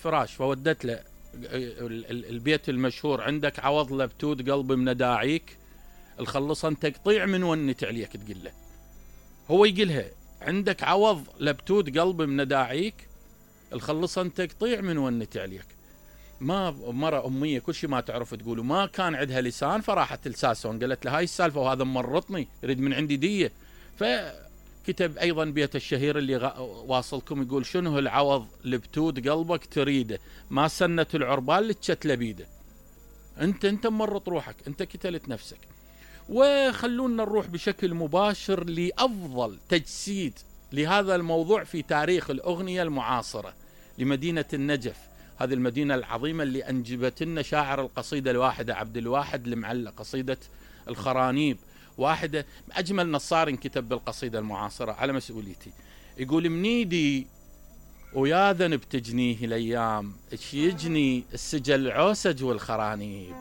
فراش، فودت له البيت المشهور: عندك عوض لبتود قلبي منداعيك، الخلصن تقطيع من ونت عليك. تقول له، هو يقولها: عندك عوض لبتود قلبي منداعيك، الخلصن تقطيع من ونت عليك. ما مرة أمية كل شيء ما تعرف تقول، وما كان عندها لسان، فراحت لساسون قالت له: هاي السالفة وهذا مرطني، يريد من عندي دية. فكتب أيضا بيت الشهير اللي واصلكم، يقول: شنو العوض لبتود قلبك تريده، ما سنة العربال لتشت لبيده. انت مرط روحك، انت كتلت نفسك. وخلونا نروح بشكل مباشر لأفضل تجسيد لهذا الموضوع في تاريخ الأغنية المعاصرة، لمدينة النجف، هذه المدينة العظيمة اللي أنجبت لنا شاعر القصيدة الواحدة عبد الواحد المعلى، قصيدة الخرانيب، واحدة أجمل نصار كتب بالقصيدة المعاصرة على مسؤوليتي. يقول: منيدي ويا ذنب تجنيه الأيام، ايش يجني السجل عوسج والخرانيب.